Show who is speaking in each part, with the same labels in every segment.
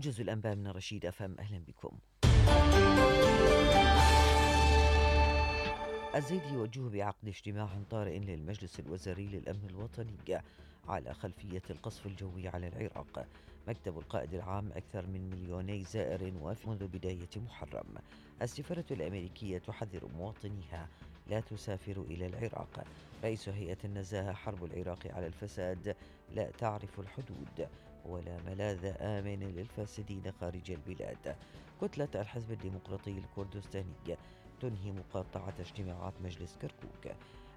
Speaker 1: جزء الأنباء من رشيد أفهم. أهلا بكم. الزيدي يوجه بعقد اجتماع طارئ للمجلس الوزاري للأمن الوطني على خلفية القصف الجوي على العراق. مكتب القائد العام: أكثر من 2,000,000 زائر منذ بداية محرم. السفارة الأمريكية تحذر مواطنيها: لا تسافروا إلى العراق. رئيس هيئة النزاهة: حرب العراق على الفساد لا تعرف الحدود، ولا ملاذ آمن للفاسدين خارج البلاد. كتلة الحزب الديمقراطي الكردستاني تنهي مقاطعة اجتماعات مجلس كركوك.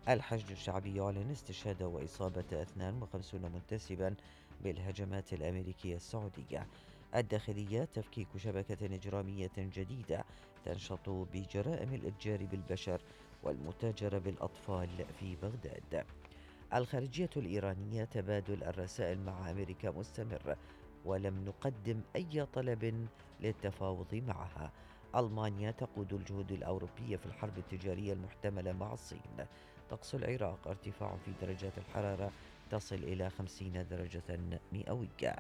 Speaker 1: الحشد الشعبي يعلن استشهاد وإصابة 52 منتسبا بالهجمات الأمريكية السعودية. الداخلية: تفكيك شبكة إجرامية جديدة تنشط بجرائم الإتجار بالبشر والمتاجرة بالأطفال في بغداد. الخارجية الإيرانية: تبادل الرسائل مع أمريكا مستمر، ولم نقدم أي طلب للتفاوض معها. ألمانيا: تقود الجهود الأوروبية في الحرب التجارية المحتملة مع الصين. طقس العراق: ارتفاع في درجات الحرارة تصل إلى 50 درجة مئوية.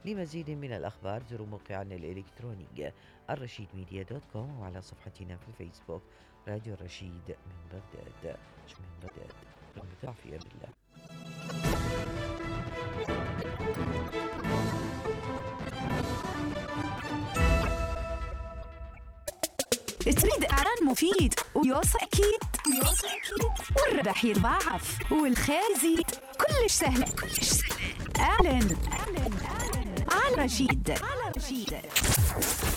Speaker 1: لمزيد من الأخبار زوروا موقعنا الإلكتروني الرشيدميديا.com، وعلى صفحتنا في الفيسبوك راديو الرشيد من بغداد. في أمان الله.
Speaker 2: تريد إعلان مفيد ويوصل أكيد والربح يتضاعف والخير يزيد، كلش سهل. أعلن على رشيد.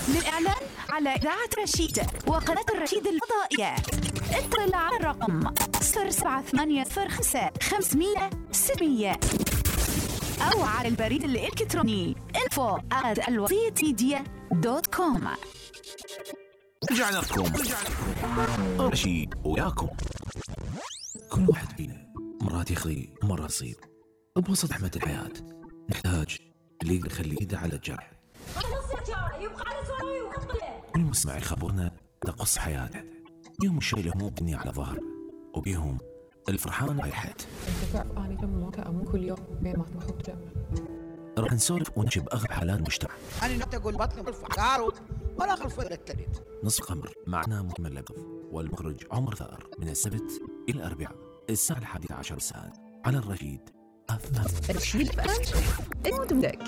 Speaker 2: للإعلان على إذاعة رشيد وقناة الرشيد الفضائية اتصل على الرقم 07805 أو على البريد الإلكتروني info@alwasitmedia.com.
Speaker 3: رجعنا لكم رشيد وياكم. كل واحد فينا مرات يخلي مرات يصيب بوسط زحمة الحياة، نحتاج اللي يخلي ايده على الجرح. كل مستمع يخبرنا تقص حياته، بيهم الشيء اللي هموم بني على ظهر، وبيهم الفرحان رايحت.
Speaker 4: انت تعرف اني لما امون كل يوم بين ما تروح وتجمع.
Speaker 3: راح نسولف ونجيب اغلب حالات المجتمع.
Speaker 5: انا نبت اقول بطني بالفقار ولا خلف التليت.
Speaker 3: نصف خمر معنا مكمل لطف، والمخرج عمر ثار، من السبت الى الاربعاء الساعه 11 مساء على الرشيد.
Speaker 4: الرشيد الموت بدك.